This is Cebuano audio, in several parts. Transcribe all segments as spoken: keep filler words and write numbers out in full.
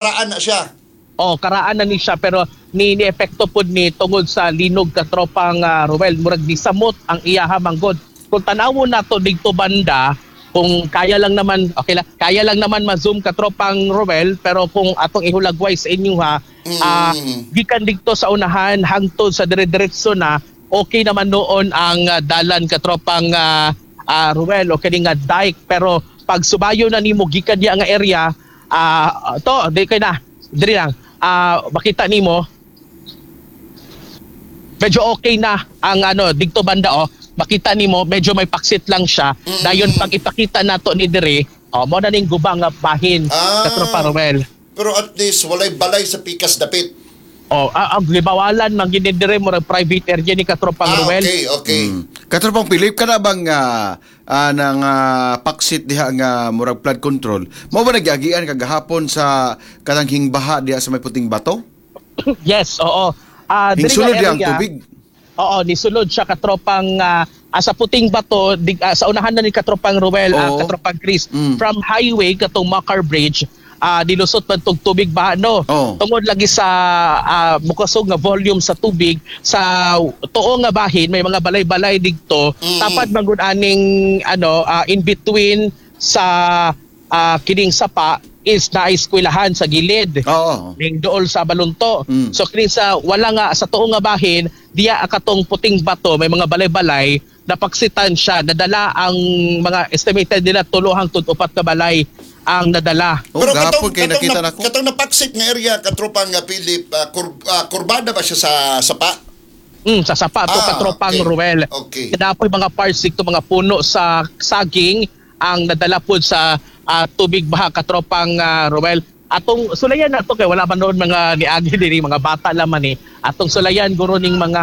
Karaan na siya. Oh, karaan na ni siya, pero ni ni epekto pud ni tungod sa linog, katropang uh, Ruel, murag ni samot ang iyaha manggod. Kung tanawon nato didto banda, kung kaya lang naman, okay lang, kaya lang naman ma-zoom, katropang Ruel, pero kung atong ihulagway sa inyo ha, Mm. ah, gikan didto sa unahan hangtod sa dire-diretso na, okay naman noon ang ah, dalan, katropang uh, uh, Ruel, okay nga dike, pero pag subayo na nimo gikan diya nga area, ah, to di kay na diri lang, ah, makita nimo medyo okay na ang ano didto banda. Oh, makita nimo medyo may paksit lang siya. Mm. Dayon pag ipakita nato ni diri, oh, mo na ning guba nga bahin, Ah. katropa Ruel. Pero at least walay balay sa pikas dapit. Oh, ah, ang gibawalan man gini diri, murag private area ni, katropang Ah, Ruel. okay, okay. Mm. Katropang Philip, kana bang ah, ah, nang ah, paksit diha nga murag flood control? Mao ba nagyagian kagahapon sa kanang hingbaha diha sa may Puting Bato? Yes, oo. Ah, diri nga Hingsulod diha ang area. tubig. Oo, nisulod siya, katropang ah, ah, sa Puting Bato, di, ah, sa unahan na ni katropang Ruel, ah, Oo. katropang Chris, Mm. from highway katong Makar Bridge, ah nilusot man tong tubig ba, no? Oo. Tungod lagi sa ah, mukasog nga volume sa tubig sa tuo nga bahin, may mga balay-balay didto. Mm. Tapad man gud aning ano ah, in between sa ah, kining sapa is na eskwelahan sa gilid Oo. ning dool sa Balunto. Mm. So kini sa wala nga sa tuo nga bahin diya katong Puting Bato, may mga balay-balay, napaksitan siya, nadala ang mga estimated nila tulo hangtod upat ka balay ang nadala. Oh, gahapon kay nakita nap- nako. Katong napaksit nga area, katropang nga Philip, ah, kur, ah, kurbada ba siya sa sapa? Mm, sa sapa to, Ah, katropang okay. Ruel. Okay. Kaya mga parts dito, mga puno sa saging ang nadala pod sa ah, tubig baha, katropang ah, Ruel. Atong sulayan na to kay wala man noon mga niagi diri, mga bata laman eh. Atong sulayan guro ning mga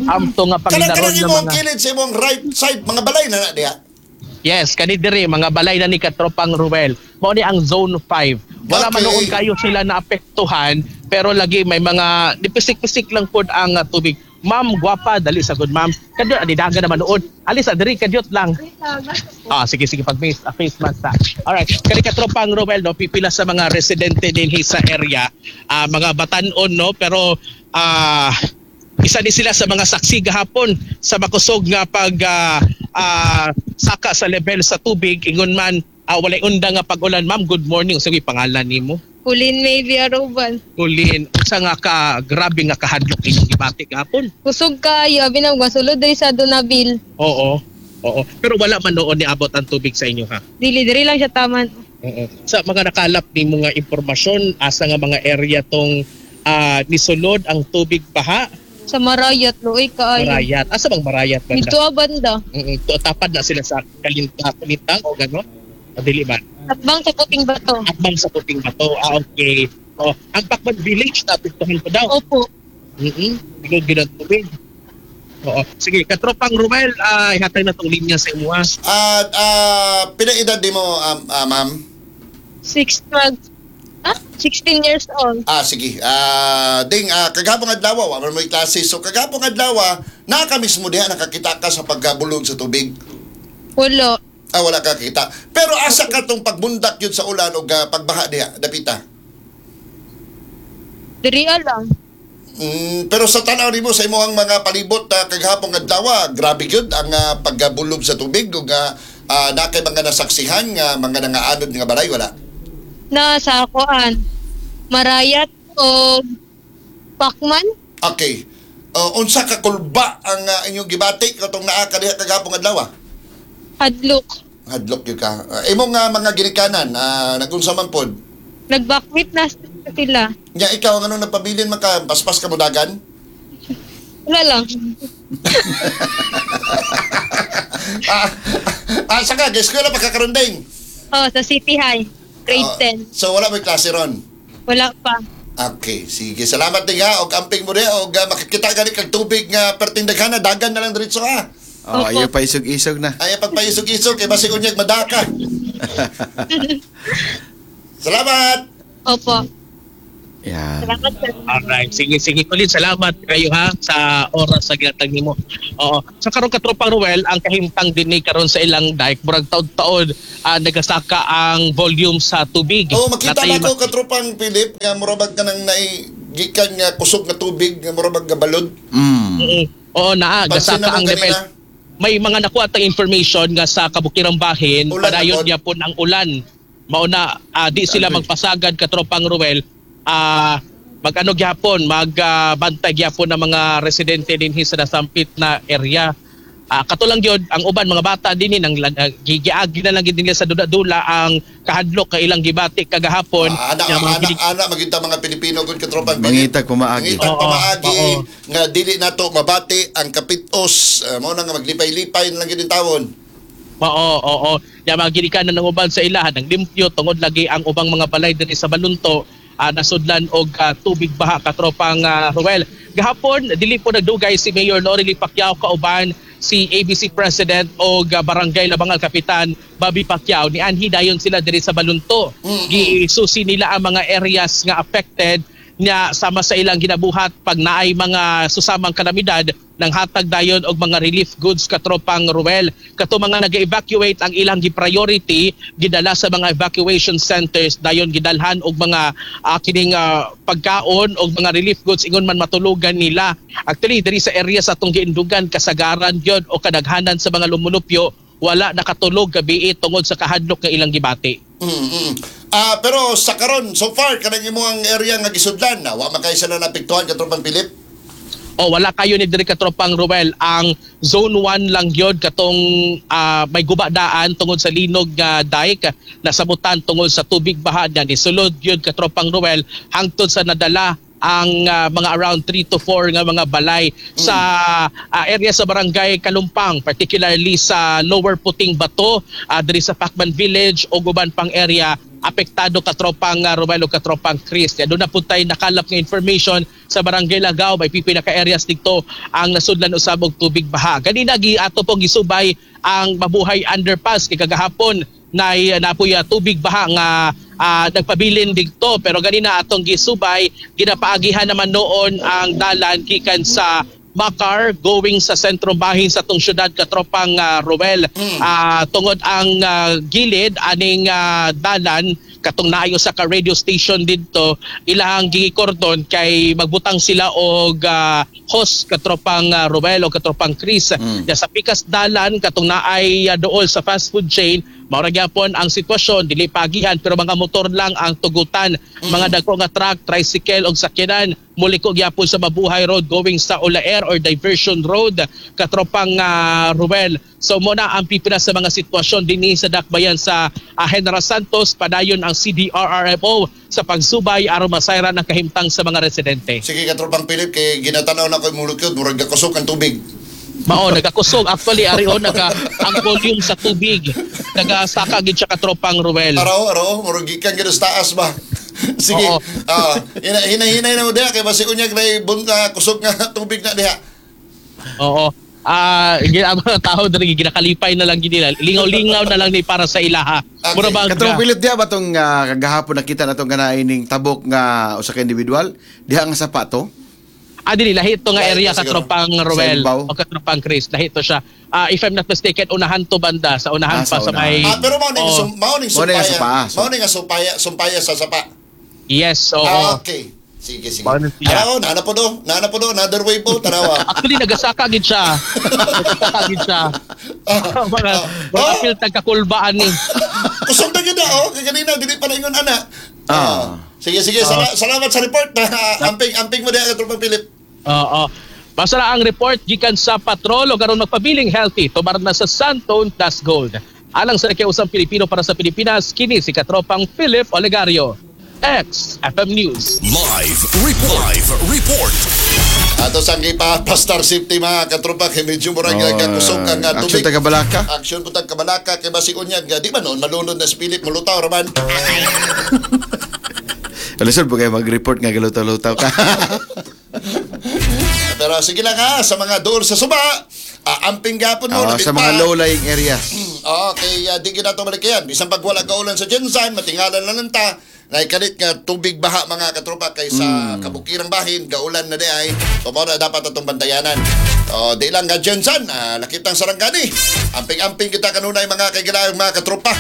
amto nga Kanang panginaron kanang nga imong mga kilid sa imong right side, mga balay na na diha. Yes, kani diri mga balay na ni katropang Ruel. Mao ni ang Zone five. Wala man Okay. noon kayo sila naapektuhan, pero lagi may mga nipisik-pisik lang pod ang uh, tubig. Ma'am, gwapa, dali sa good ma'am. Kadyo ani dagan naman noon. Alis sa diri kadyot lang. Ah, sige sige, pag face, ah, face mask ta. Alright, kani katropang Ruel, no, pipila sa mga residente dinhi sa area, ah, mga batanon, no, pero ah isa ni sila sa mga saksi gahapon sa makusog nga pag ah, ah, saka sa level sa tubig ingon man ah, walay unda nga pag-ulan. Ma'am, good morning. Sige, pangalan nimo? Kulin maybe Aruban. Kulin, unsa nga ka grabe nga kahadlok inyong gibati gahapon? Kusog kaayo, abi na masulod diri sa Donabil. Oo. Oo. Pero wala man noon niabot ang tubig sa inyo ha? Dili, diri lang siya taman. Oo. Sa mga nakalap ni mga impormasyon, asa nga mga area tong ah, nisulod ang tubig baha? Sa Marayat, luoy kaayo. Marayat. Asa bang Marayat banda? Dito ah, banda. Mm, mm. Tapad na sila sa Kalinta, Kalintang o gano'n? O dili ba? Atbang sa Puting Bato. Atbang sa Puting Bato. Ah, okay. Oh, ang Pacman Village, naapektuhan pa daw. Opo. Mm-mm. Bilog din ang tubig. Oo. Sige, katropang Ruel, ah, ihatag na tong linya sa imo ah. At ah, pila edad di mo, um, ah, ma'am? Six, twelve, ah, sixteen years old. Ah, sige. Ah, ding, ah, kagahapon adlaw, wa man mo'y klase. So kagahapon adlaw, naa ka mismo diha, nakakita ka sa pagkabulog sa tubig? Wala. Ah, wala ka kita. Pero asa ka tong pagbundak yun sa ulan o pagbaha diha, dapita? Diri lang. Mm, pero sa tanaw nimo sa imong mga palibot uh, kagahapon adlaw, grabe gyud ang ah, pagkabulog sa tubig ug uh, uh, naa kay mga nasaksihan nga mga nangaanod nga balay, wala? Na sa kuan. Marayat o Pacman. Okay. Uh, unsa ka kulba ang ah, inyong gibati katong naa ka diha kagahapon adlaw? Hadlok. Hadlok gyud ka. Uh, imong nga mga ginikanan, uh, nagunsa man pod? Nagbakwit na sila. Nya ikaw, ang anong napabilin man ka, paspas ka mo dagan? Wala lang. ah, ah, saka, guys, eskwela pa ka karon, ding? Oh, sa City High. Grade Ah, ten. So wala may klase ron? Wala pa. Okay, sige. Salamat din ha. Og amping mo rin. Og uh, makikita gani kag tubig nga perting daghana, dagan na lang diretso ha. Oh, Opo. ayaw pa isog-isog na. Ay pagpaisog-isog kay basig unyag madaka. Salamat. Opo. Yan. Salamat, sir. Alright, sige sige Colleen, salamat kayo ha sa oras sa gihatag nimo. Oo. Sa karon, katropang Ruel, ang kahimtang dinhi karon sa ilang dike, murag taod-taod ah, nagasaka ang volume sa tubig. Oh, makita Natay na ko, katropang Philip, nga murabag ka nang naigikan nga kusog nga tubig nga murabag nga balod. Mm. Mm. Oo, naa Pansin gasaka na mo ang level. kanina. May mga nakuha tang information nga sa Kabukirang Bahin, Ulan padayon na pod. niya po ang ulan. Mauna ah, di sila Grabe. magpasagad, katropang Ruel. Ah, mag-ano gyapon, magbantay gyapon ng mga residente dinhi sa nasampit na area. Ah, katulang gyud ang uban mga bata dinhi nang uh, gigiagi na lang gid nila sa dula-dula ang kahadlok kay ilang gibati kagahapon. Ah, ana, Nga mga ana, ginig- ana, magita mga Pilipino gud, katropang Philip. Mangitag pamaagi. Mangitag Oo, pamaagi oo. nga dili nato mabati ang kapitos. Uh, mao na nga maglipay-lipay na lang gid tawon. Oo, oo. Ya mga ginikanan ng uban sa ilahan ng limpyo tungod lagi ang ubang mga balay dinhi sa Balunto ah, nasudlan og ah, tubig baha, katropang ah, Ruel. Gahapon dili po nagdugay si Mayor Lorely Pacquiao kauban si A B C President o Barangay Labangal Kapitan Bobby Pacquiao, nianhi dayon sila diri sa Balunto. Gisusi nila ang mga areas nga affected niya sama sa ilang ginabuhat pag naay mga susamang kalamidad ng hatag dayon og mga relief goods, katropang Ruel. Kato mga nag-evacuate, ang ilang gi-priority gidala sa mga evacuation centers, dayon gidalhan og mga ah, kining ah, pagkaon og mga relief goods ingon man matulugan nila. Actually, diri sa area sa atong giindugan, kasagaran gyud o kadaghanan sa mga lumulupyo wala nakatulog gabi tungod sa kahadlok nga ilang gibati. Mm, mm. Ah, pero sa karon so far kanang imong area nga gisudlan na wa man kay sila naapektuhan, katropang Philip? O wala kayo ni diri, katropang Ruel. Ang zone one lang gyud katong ah, may guba daan tungod sa linog nga dike nasabutan tungod sa tubig baha niya ni sulod gyud, katropang Ruel, hangtod sa nadala ang ah, mga around three to four nga mga balay sa ah, area sa Barangay Kalumpang, particularly sa Lower Puting Bato, ah, diri sa Pacman Village o uban pang area apektado, katropang uh, Romel o katropang Chris. Kaya doon na po tayo nakalap ng information sa Barangay Lagaw, may pipila ka areas dito ang nasudlan usab og tubig baha. Ganina gi ato pong gisubay ang Mabuhay Underpass kay kagahapon na napuy uh, tubig baha nga ah, nagpabilin didto, pero ganina atong gisubay, ginapaagihan naman noon ang dalan gikan sa Macar going sa sentro bahin sa tong syudad, katropang uh, Ruel. Ah, tungod ang ah, gilid aning ah, dalan katong naayo sa ka radio station didto, ilahang gikordon kay magbutang sila og ah, hose, katropang uh, Ruel o katropang Chris. Mm. Ya, sa pikas dalan katong naay ah, dool sa fast food chain, mao ra gyapon ang sitwasyon, dili pagihan pero mga motor lang ang tugutan. Mga dagko nga truck, tricycle og sakyanan muliko gyapon sa Mabuhay Road going sa Olaer or Diversion Road, katropang ah, Ruel. So mo na ang pipila sa mga sitwasyon dinhi sa dakbayan sa ah, General Santos. Padayon ang C D R R M O sa pagsubay aron masayran ang kahimtang sa mga residente. Sige, katropang Philip, kay ginatanaw na ko imong lukod, murag gakusog ang tubig. Mao, nagakusog actually ari on naga ang volume sa tubig nagasaka gid siya, katropang Ruel. Araw, araw, murag gikan gyud sa taas ba. Sige. Oo. Ah, hina hinahinay na mo diha kay basi unyag na bunta kusog nga tubig na diha. Oo. Ah, uh, ang mga tao diri ginakalipay na lang gid nila. Lingaw-lingaw na lang ni para sa ilaha. Okay. Mura bang Katong Philip, diha ba tong ah, kagahapon nakita na tong kanaining tabok nga usa ka individual diha nga sapato? Ah, dili, lahi to nga Lahi area, to siguro. katropang Ruel Sa Imbaw? o katropang Chris. Lahi to siya. Ah, if I'm not mistaken, unahan to banda sa unahan Ah, pa sa sa may Ah, pero mao ning Oo. sum, mao ning Mao ning sumpaya. sumpa, so- Mao ning nga sumpaya, sumpaya sa sapa. Yes, oo. Ah, okay. Sige, sige. Mao ni siya. Araw, naana po do. Naana po do, another way po, tanawa. Actually, nagasaka gid siya. Nagasaka gid siya. Mga mga Ah. apil tagkakulbaan ni. Kusog na gyud na, oh, kay kanina dili pa na ingon ana. Ah. Sige, sige, sala- salamat sa report. Amping amping mo diha, katropang Philip. Oo. Basta na ang report gikan sa patrol o karon magpabiling healthy tumar na sa Santone Plus Gold. Alang sa Usang Pilipino para sa Pilipinas, kini si katropang Philip Olegario. X F M News. Live report. Live report. Ato sang ipa Pastar Safety, mga katropa, kay medyo murag Oh, uh, kusog ang uh, action tubig. taga Balaka. Action putag kabalaka kay basig unyag di ba noon malunod na si Philip, mulutaw ra man. Alisod po kayo mag-report nga galutaw-lutaw ka. Pero sige lang ha, sa mga dool sa suba, ah, amping gapon mo Ah, labit sa mga pa. low-lying areas. Oo, kay uh, di ginato balik yan. Bisan pag wala kaulan sa GenSan, matingalan na lang ta. Naikalit nga tubig baha, mga katropa, kay sa kabukirang bahin gaulan na di ay. So mao na dapat atong bantayanan. So di lang nga Jensen, ah, lakitang Sarangani. Amping-amping kita kanunay, mga kaigilaang mga katropa.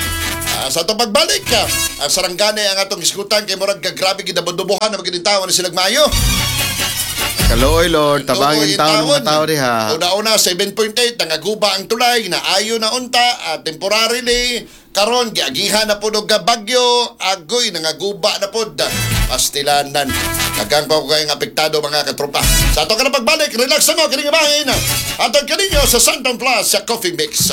Ah, sa atong pagbalik, ah, ang Sarangani ang atong isgutan kay murag grabe gidabodubohan na maginintawan ni silag Mayo. Kaluoy, Lord, tabangin taon ng mga tao diha. Una-una, seven point eight, nangaguba ang tulay, naayo na unta, ah, temporarily, karon giagihan na pod og bagyo, agoy, nangaguba na pod. Pastilanan. Daghang pa ko kayong apektado, mga katropa. Sa ato ka na pagbalik, relax mo, kining bahin. Atong kaninyo sa Santon Plus sa Coffee Mix.